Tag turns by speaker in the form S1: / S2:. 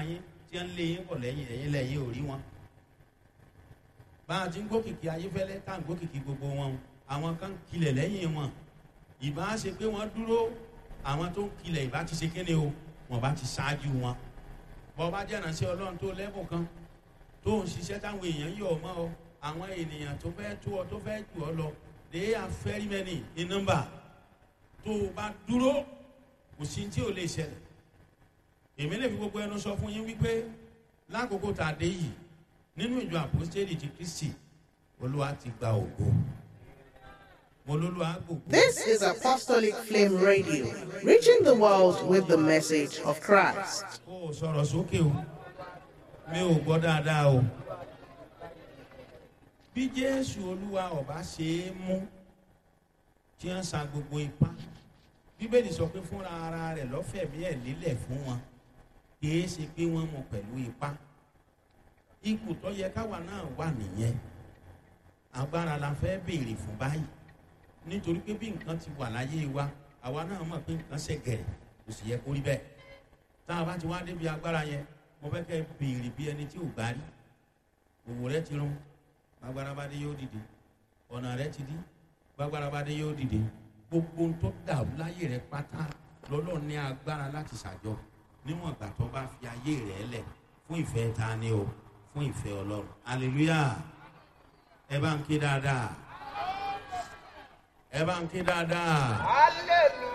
S1: yín tí ń lé yín bọ̀ lẹ́yìn, ẹ̀yin lẹ́yìn ò rí wọn. Bá a ti ń gbókìkí Ayéfẹ́lẹ́ tá à ń gbókìkí gbogbo wọn, àwọn kan ń kilẹ̀ lẹ́yìn wọn. Ìbá ṣe pé wọ́n dúró, àwọn tó ń kilẹ̀ ìbá ti ṣe kéde o, wọ́n bá ti ṣáájú wọn. Bọ́ bá jẹ́ ìránṣẹ́ Ọlọ́run tó lẹ́bùn kan tó ń ṣiṣẹ́ táwọn èèyàn yọ̀ mọ́ ọ, àwọn ènìyàn tó fẹ́ tó ọ tó fẹ́ jù ọ lọ, they are very many in number. Tó o bá dúró, kò sí tí ò lè ṣẹlẹ̀. Èmi lè fi gbogbo ẹnu sọ fún yín wípé lákòókò tá a dé yìí nínú ìjọ Àpọ́stélì ti Kristi, Olúwa ti gba ògo. Mo lólúwa gbògo.
S2: This is Apostolic Flame Radio, reaching the world with the message of Christ.
S1: Kó o sọ̀rọ̀ sókè o, mi ò gbọ́ dáadáa o. Bí Jésù Olúwa ọba ṣe é mú tí wọ́n sa gbogbo ipá, Bíbélì sọ pé fúnra ara rẹ̀ lọ́fẹ̀mí ẹ̀ lílẹ̀ fún wọn, kìí ṣe pé wọ́n mú pẹ̀lú ipá. Ipò tó yẹ káwa náà wà nìyẹn. Agbára la fẹ́ béèrè fún báyìí, nítorí pé bí nǹkan ti wà láyé wa, àwa náà mọ̀ pé nǹkan ṣẹ̀gẹ̀rẹ̀, kò sì yẹ kó rí bẹ́ẹ̀. Tá a bá ti wá débi agbára yẹn, mo fẹ́ kẹ́ béèrè bí ẹni tí ò gbá rí. Òwò rẹ ti rún, gbàgbára bá dé yóò dìde. Ọ̀nà rẹ ti dí, gbàgbára bá dé yóò dìde. Gbogbo ohun tó dàrú láyé rẹ pátá lọ́lọ́ ní agbára láti ṣàjọ, níwọ̀n ìgbà tó bá fi ayé rẹ lẹ̀ fún ìfẹ́ ta ni o, fún ìfẹ́ Ọlọ́run. Hallelujah! Ẹ bá ń ké dáadáa, ẹ bá ń ké dáadáa.
S3: Hallelujah.